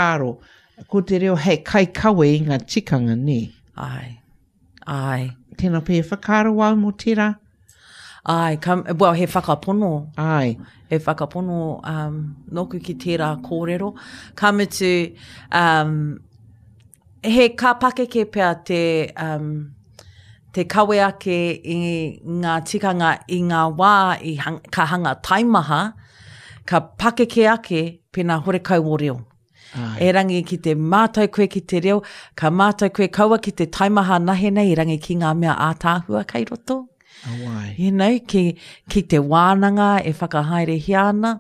Aro, ko te reo hei kaikawe i ngā tikanga, nē? Āe. Āe. Tēnā pea e whakaaro au mō tērā? Āe, ka, well, he whakapono. Āe. He whakapono um, nōku ki tērā kōrero. Ka mutu, um, he ka pakeke pea te, um, te kawe ake i ngā tikanga i ngā wā i hang, ka hanga taimaha, ka pakeke ake pēnā horekau o reo. Ai. Erangi ki te mātau koe ki te reo, ka mātau koe kaua ki te taimaha nahe nei, erangi ki ngā mea ātaahua kei roto. Awai. You know, ki, ki te wānanga e whakahaerehia ana.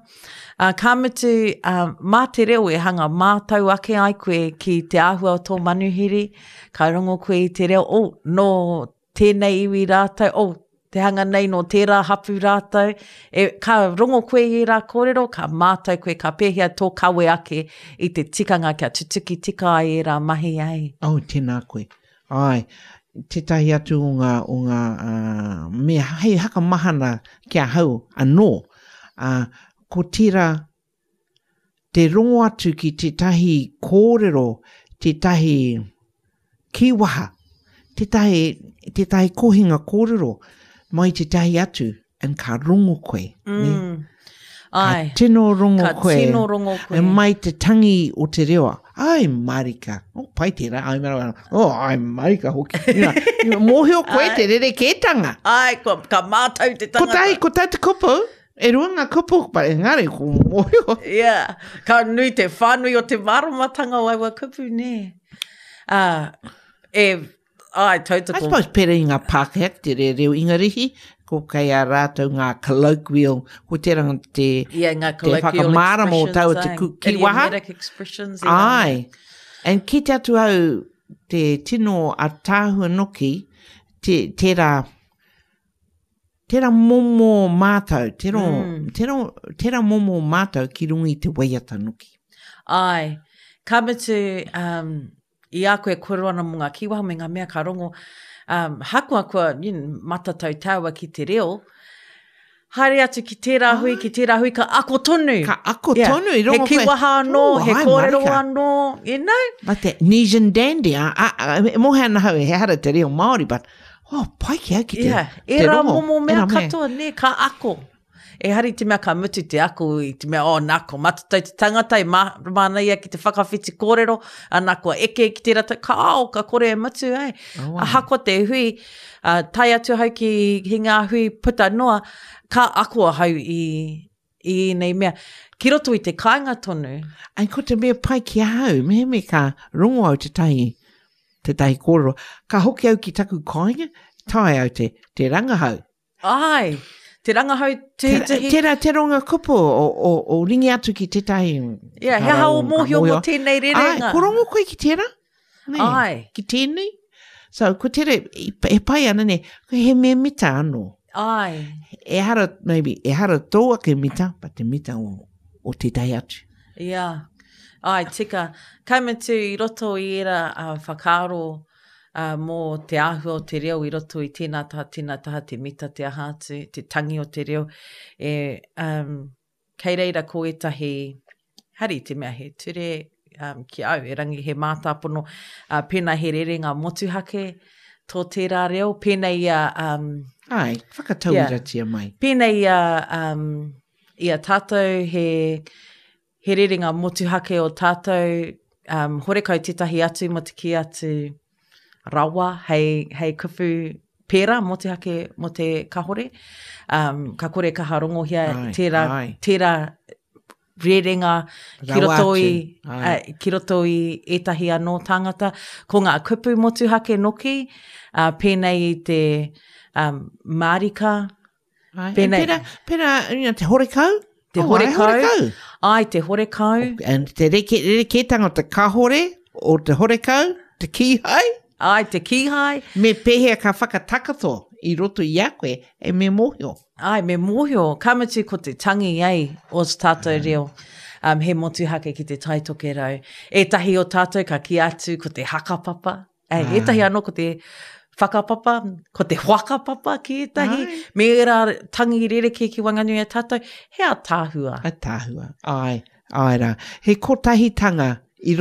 Uh, ka mutu, uh, mā te reo e hanga mātau ake ai koe ki te āhua o tō manuhiri, ka rongo koe i te reo, oh, nō tēnei iwi rātou, oh, te hanga nei nō tērā hapu rātou. E, ka rongo koe i ērā kōrero, ka mātau koe, ka pēhea tō kawe ake i te tikanga kia tutuki tika ai ērā mahi ai. Oh, tēnā koe. Āe, tētahi atu o ngā, o ngā mea hei hakamahana ki ahau anō, ā, ko tērā te rongo atu ki tētahi kōrero, tētahi kīwaha, tētahi, tētahi kohinga kōrero mai tētahi atu, and ka rongo koe. Mm. Ne? Ka Ai. tino rongo ka koe. Ka tino rongo koe. E mai te tangi o te reo. Ai, marika. Oh, pai tērā. Ai, marika. Oh, ai, marika hoki. You know, mōhio koe te rerekētanga. Ai, kua, ka mātau te tangata. Kotahi, kotahi te kupu. E rua ngā kupu, but engari, ko mōhio. Yeah. Ka nui te whānui o te māramatanga o aua kupu, nē. Uh, e Ai, tautoko. I suppose pērā i ngā Pākehā ki te reo, reo Ingarihi, ko kei a rātou ngā colloquial, ko tērā te, yeah, ngā te whakamārama o taua te ku, kīwaha. Idiomatic expressions. Ai. And kite atu au te tino ataahua noki, te, tērā, tērā momo mātau, tērā, mm. tērā, tērā momo mātau ki runga i te waiata noki. Ai. Ka mutu, um, i a koe e kōrero ana mō ngā kīwaha me ngā mea ka rongo, um, hakoa kua you know, matatau tāua ki te reo, haere atu ki tērā hui, ki tērā hui, ka ako tonu. Ka ako yeah. tonu, i rongo koe. He kīwaha anō, oh, he kōrero anō, you know? But the Nesian dandy, a, a, a, e mohe ana hau, he hara te reo Māori, but, oh, pai ki au ki te, yeah. te rongo. Era momo mea katoa, ne, ka ako. Ehara i te mea ka mutu te ako i te mea, oh, nā, ko matatau te tangata e mā, māna ia ki te whakawhiti kōrero, ana kua eke ki tērā tau, ka ao, ka kore e mutu, ai. Oh, wow. Ahakoa te hui, uh, tae atu ahau ki, ki ngā hui puta noa, ka ako ahau i, i ēnei mea. Ki roto i te kāinga tonu. Ai, ko te mea pai ki ahau, mehemea ka rongo au tētahi, tētahi kōrero, ka hoki au ki taku kāinga, tae au te, te rangahau. Ai, te rangahau tuhituhi. Tērā te ronga kupu o, o, o ringi atu ki tētahi. Yeah, he aha o mōhio mō tēnei rerenga. Ai, ko rongo koe ki tērā? Nē, Ai. Ki tēnei? So, ko tērā, e pai ana ne, he mea mita anō. Ai. Ehara, maybe, ehara tō ake mita, but te mita o, o tētahi atu. Yeah. Ai, tika. Ka mutu i roto i ērā uh, whakaaro ā, mō te āhua o te reo i roto i tēnā taha, tēnā taha, te mita, te aha atu, te tangi o te reo, e, um, kei reira ko ētahi, hari te mea he ture um, ki au, erangi he mātāpono, uh, pēnā he rerenga motuhake tō tērā reo, pēnei i a... Um, Ai, whakatauiratia yeah, mai. Pēnei i a, um, i a tātou he, he rerenga motuhake o tātou, um, horekau tētahi atu mō te kī atu rawa hei, hei kupu pērā motuhake mō te kahore. Um, ka kore kaha rongohia ai, tērā, ai. tērā rerenga ki roto, i, uh, ki roto i ētahi anō tāngata. Ko ngā kupu motuhake noki, uh, pēnei i te um, mārika, Ai, Pēnei. Pera, pera, you know, te horekau? Te oh, horekau. Ai, horekau. Ai, te horekau. And te reke, rerekētanga o te kahore, o te horekau, te kīhai. Ai, te kīhai. Me pēhea ka whakatakato i roto i a koe, e me mōhio. Ai, me mōhio. Ka mutu ko te tangi ai o tātou reo. Um, he motuhake ki te Tai Tokerau. Ētahi o tātou ka kī atu ko te hakapapa. Ei, ah. ētahi anō ko te whakapapa, ko te whakapapa ki ētahi, ai. me ērā tangi rerekē ki waenganui a tātou, he atāhua. Atāhua, ai, ai rā. He kotahitanga.